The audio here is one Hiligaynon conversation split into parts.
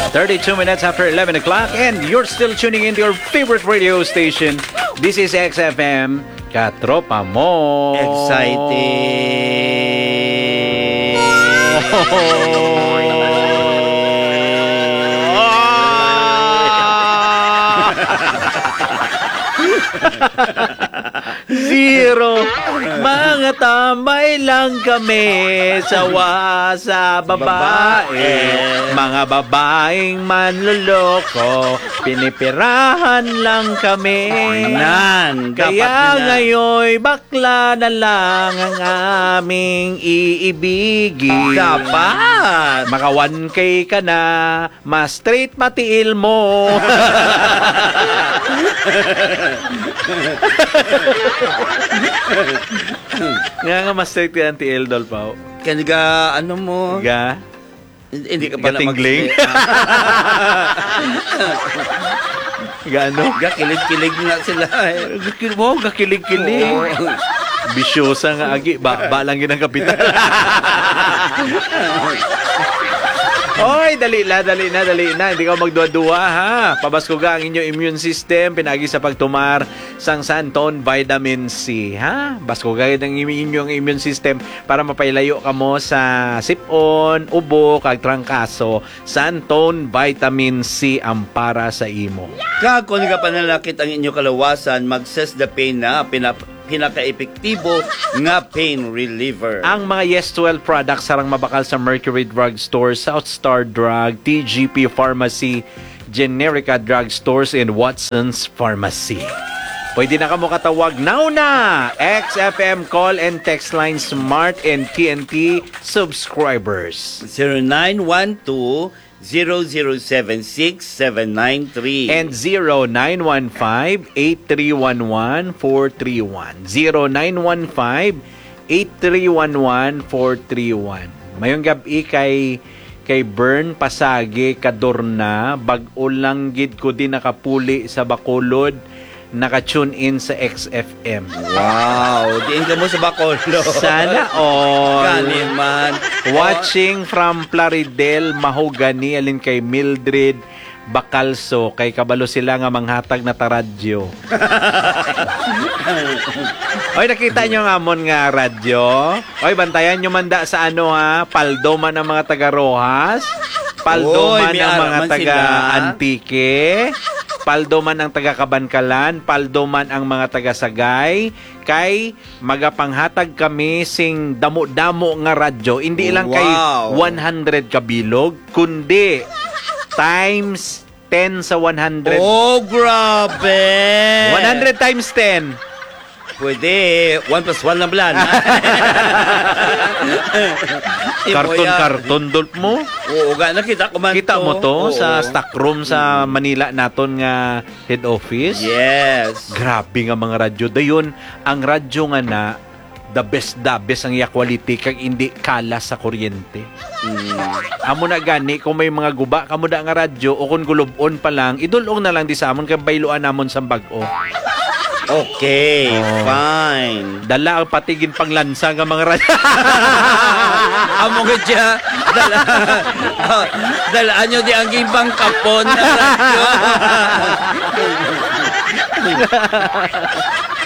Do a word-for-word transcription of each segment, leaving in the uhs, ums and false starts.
Thirty-two minutes after eleven o'clock, and you're still tuning in to your favorite radio station. This is X F M, Katropa Mo. Exciting. Zero. Mga tambay lang kami, sawa sa babae. Babae. Mga babaeng manloloko, pinipirahan lang kami. Nan, dapat Kaya na. Ngayon, bakla na lang ang aming iibigin. Dapat. Maka one K ka na, mas straight matiil mo. Nga nga mas straight ka ang tiil, Dolpao. Kani ga, ano mo? Ga? Hindi, hindi ka pala Gatingling? mag- Gaano? Gakilig-kilig na sila eh. Gakil-, wow, gakilig-kilig. Oo. Bisyosa nga agi, ba, ba lang yun ang kapital. Oy, dali na, dali na, dali na. Hindi ka magduwa-duwa, ha? Pabaskuga ang inyo immune system, pinagi sa pagtumar sang Santon Vitamin C, ha? Baskuga ang inyong immune system para mapailayo kamo sa sipon, ubo, kag trangkaso. Santon Vitamin C ang para sa imo. Kag kung nagapanalakit ang inyo kalawasan, mag-Sesdapine na pinap-, pinaka-epektibo nga pain reliever. Ang mga Yes twelve products sarang mabakal sa Mercury Drug Store, South Star Drug, T G P Pharmacy, Generica Drug Stores, and Watson's Pharmacy. Pwede na kamo katawag now na X F M call and text line, Smart and T N T subscribers. Zero nine one two, zero zero seven six, seven nine three. And zero nine one five, eight three one one, four three one. Zero nine one five, eight three one one, four three one. Mayong gab-i kay, kay Bern Pasagi Kadorna, bag-o lang gid ko din nakapuli sa Bacolod. Naka-tune in sa X F M. Wow, diin ka mo sa Bacolod? Sana all. Gani man. Watching from Plaridel, Mahogany, alin kay Mildred Bacalso, kay kabalo sila nga manghatag na ta radyo. Oy, nakita nyo nga amon nga radyo? Oy, bantayan nyo man da sa ano, ha? Paldo man ang mga taga Roxas, paldo Oy, man may ang ara mga man taga sila. Antique, paldo man ang taga Kabankalan, paldo man ang mga taga Sagay, kay magapanghatag kami sing damo-damo nga radyo. Hindi lang kay Wow. one hundred ka bilog, kundi times ten sa one hundred. Oh, grabe! One hundred times ten. Pwede, one plus one lang pala, na? Karton-karton, Dolph, mo? Oo, ga, nakita ko man Kita to. mo to Oo. sa stock room sa Mm. Manila naton nga head office? Yes. Grabe nga mga radyo. Dayon, ang radyo nga na, the best, the best ang iya quality, kag hindi kalas sa kuryente. Mm. Amo na gani, kung may mga guba kamo da nga radyo, o kung gulub-on pa lang, idul-ong na lang di sa amon, kay bayluan namon sang bag-o. Okay, Oh. fine. Dala ang pati ginpanglansa nga mga radyo. Amo nga siya. Dala, dalaan nyo di ang ginpangkapon nga radyo.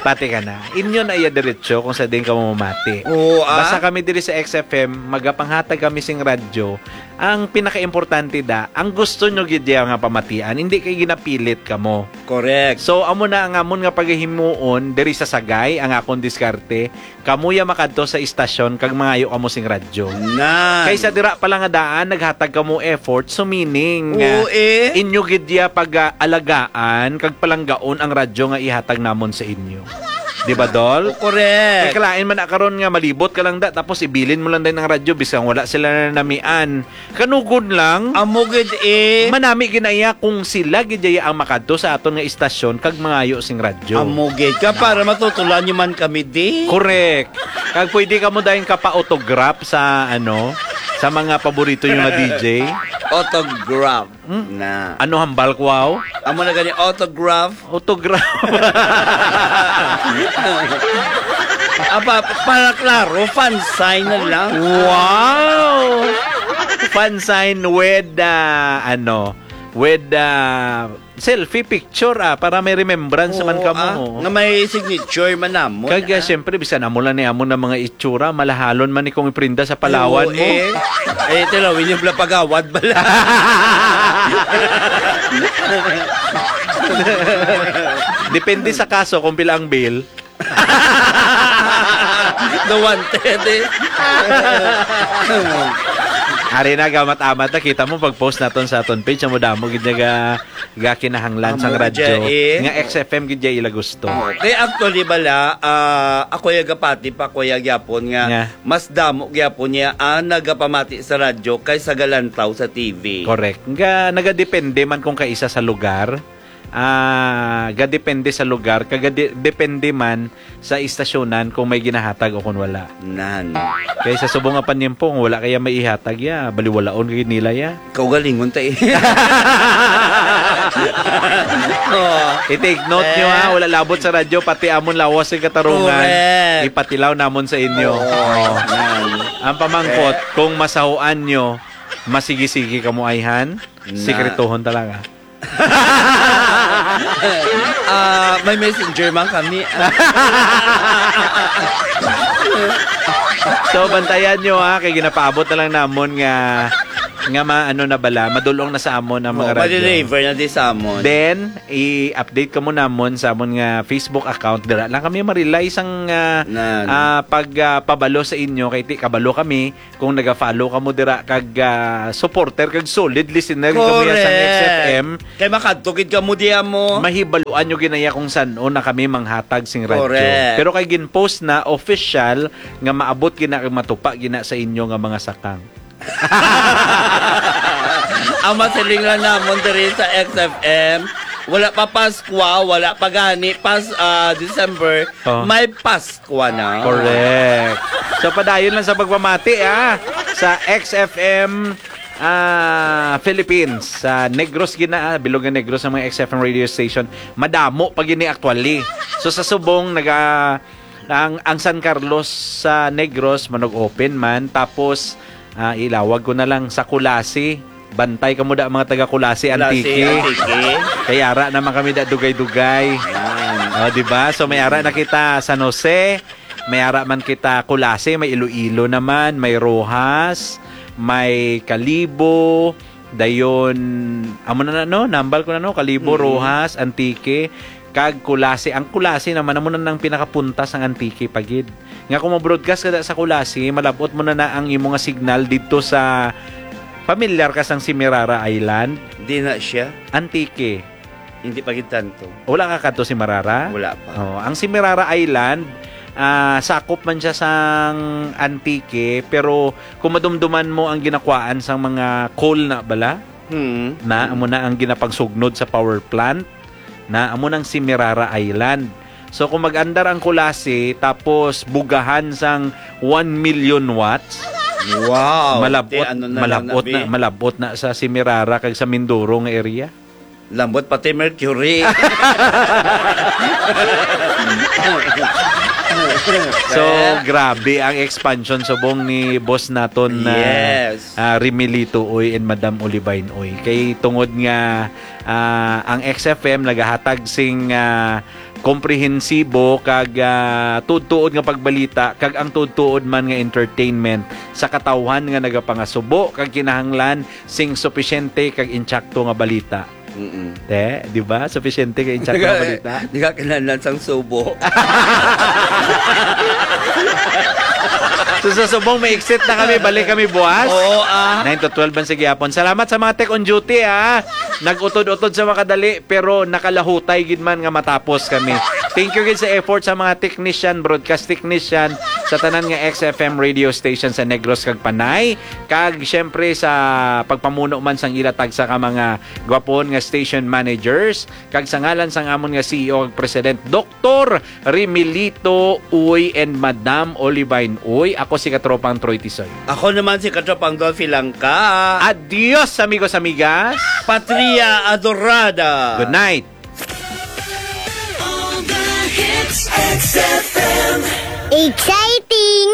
Pati ka na. Inyo na iya diretso kung sa din ka mamati. Oo, ah. Basta kami diri sa X F M, magapanghatag kami sing radyo. Ang pinakaimportante da, ang gusto nyo gid diya nga pamatian, hindi kay ginapilit kamo. Correct. So, amo na ang amon nga pagahimuon diri sa Sagay, ang akon diskarte, kamuya makadto sa istasyon kag mangayo kamo sing radyo. Nan. Kaysa dira pa lang nga daan, naghatag kamo effort, so meaning, Oo, ah, eh. inyo gid diya pag-alagaan kag palanggaon ang radyo nga ihatag namon sa inyo. Di ba, Dol? O, correct. Kay kalain man na karon nga malibot ka lang da, tapos ibilin mo lang din ang radyo, bisan wala sila nanamian. Kanugon lang. Amo gid eh. Manami ginaya kung sila gid iya ang makadto sa aton nga istasyon kag mangayo sing radyo. Amo gid ka, para matutulan nyo man kami, di? Correct. Kag pwede ka mo dayon kapa-autograph sa, ano, sa mga paborito nyo nga D J. Autograph. Hmm? Na. Ano hambal ko, aw? Amo na gani, autograph. Autograph. Aba, para klaro, fan sign na lang. Wow! Fan sign with, ah, ano, with, ah, selfie picture, ah, para may remembrance man Oo, kamo, ah, oh. Nga may signature man namon, Kag, ah, ah. Siyempre, bisan amo lang ni amo na mga itsura, malahalon man ni kung iprinda sa palawan Oo, mo. Eh. Eh, tilawin yung pala pagawad bala. Depende sa kaso kung pila ang bail. The wanted, eh. Ari na, gamat-amat na, kita mo pag-post naton sa aton page, amo damo gid nga ga, ga kinahanglan sang Amo radyo, gid, eh. Nga X F M gid iya ila gusto. Kay actually bala, ah, ako ya gapati pa, kuya, gyapon nga Nga. Mas damo gyapon niya ang nagapamati sa radyo kaysa galantaw sa T V. Correct. Nga nagadepende man kung kaisa sa lugar, ah, gadepende sa lugar, kag gade-, depende man sa istasyonan kung may ginahatag o kung wala. Nan. Kay sa subong nga panimpo, kung wala kaya may ihatag, ya, baliwalaon gid nila, ya. Kaugalingon ta, eh. Oh. I-take note nyo, ha, Eh. Wala labot sa radyo, pati amon lawas sa katarungan. Correct. Ipatilaw namon sa inyo. Oo. Oh. Nan. Ang pamangkot, Eh. Kung masahuan nyo, masigi-sigi kamo ayhan, Na. Sikretohon talaga. Ah, may messenger man kami. So, bantayan nyo, ha, kay ginapaabot na lang namon nga, nga ma-, ano na bala, madulong na sa amon ang mga Oo, radyo. Madeliver na di sa amon. Then, i-update kamo namon sa amon nga Facebook account. Dira lang kami marilay sang, ah, Nan. Ah, pag, ah, pabalo sa inyo, kay ti kabalo kami, kung naga-follow kamo dira kag, ah, supporter kag solid listener kamo sa Correct. X F M. Kay makadto gid kamo diya mo. Mahibaluan nyo ginaya kung san-o na kami manghatag sing radyo. Correct. Pero kay gin-post na official nga maabot gina kag matupa gina sa inyo nga mga sakang. Ang masiling lang namon diri sa X F M, wala pa Paskwa, wala pa gani pas, ah, December, Oh. May Paskwa na. Correct. So, padayon lang sa pagpamati, ah, sa X F M, ah, Philippines, sa Negros gina, ah, bilog nga Negros ang mga X F M radio station. Madamo pa gini actually. So, sa subong, naga, ang, ang San Carlos sa Negros, manog open man. Tapos, ah, ilawag ko na lang sa Culasi. Bantay kamo da, mga taga Culasi, Culasi, Antique. Antique. Kay ara naman kami da dugay-dugay. Yan. Oh, di ba? So, may ara na kita San Jose, may ara man kita Culasi, may Iloilo naman, may Roxas, may Kalibo, dayon, amo na na, no? Nambal ko na, no? Kalibo, Mm. Roxas, Antique, kag Culasi. Ang Culasi naman, amo na nang pinakapunta sang Antique pa gid. Nga kung mo-broadcast ka da sa Culasi, malabot mo na na ang imo nga signal didto sa, familiar ka sang Semirara Island? Di na siya. Antique. Hindi pa gid tanto. Wala ka kadto Semirara? Wala pa. Oh, ang Semirara Island, ah, sakop man siya sang Antique, pero kung madumduman mo ang ginakwaan sang mga coal na bala, Hmm. na, amo na ang ginapagsugnod sa power plant, na amo nang Semirara Island. So, kung mag-andar ang Culasi, tapos bugahan sang one million watts, Wow. malabot, Te, ano na lang malabot na, na, be? Malabot na sa Semirara kag sa Mindoro nga area. Lambot pati Mercury. So, Eh? grabe ang expansion subong ni boss naton na, Yes. ah, Remilito Uy and Madam Olivine Uy. Kay tungod nga, ah, ang X F M nagahatag sing, ah, komprehensibo kag, ah, tuod-tuod nga pagbalita kag ang tuod-tuod man nga entertainment sa katawhan nga nagapangasubo kag kinahanglan sing supisyente kag insakto nga balita. Mm-mm. Te, di ba? Supisyente kag insakto nga balita. Di ka kinahanglan sang subo. So, sa subong, may exit na kami. Balik kami buwas. Oo, ah. Nine to twelve man sa gihapon. Salamat sa mga tech on duty, ah. Nag-utod-utod sa makadali, pero nakalahutay gid man nga matapos kami. Thank you gid sa effort sa mga technician, broadcast technician, sa tanan nga X F M radio station sa Negros kag Panay. Kag, siyempre, sa pagpamuno man sang ila tagsa ka mga gwapon nga station managers, kag sa ngalan sang amon nga C E O kag President, Doktor Remilito Uy and Madam Olivine Uy, ako si Katropang Troy Tisoy. Ako naman si Katropang Dolphy Langka. Adios, amigos, amigas. Patria Adorada. Good night. All the hits, X F M. Exciting!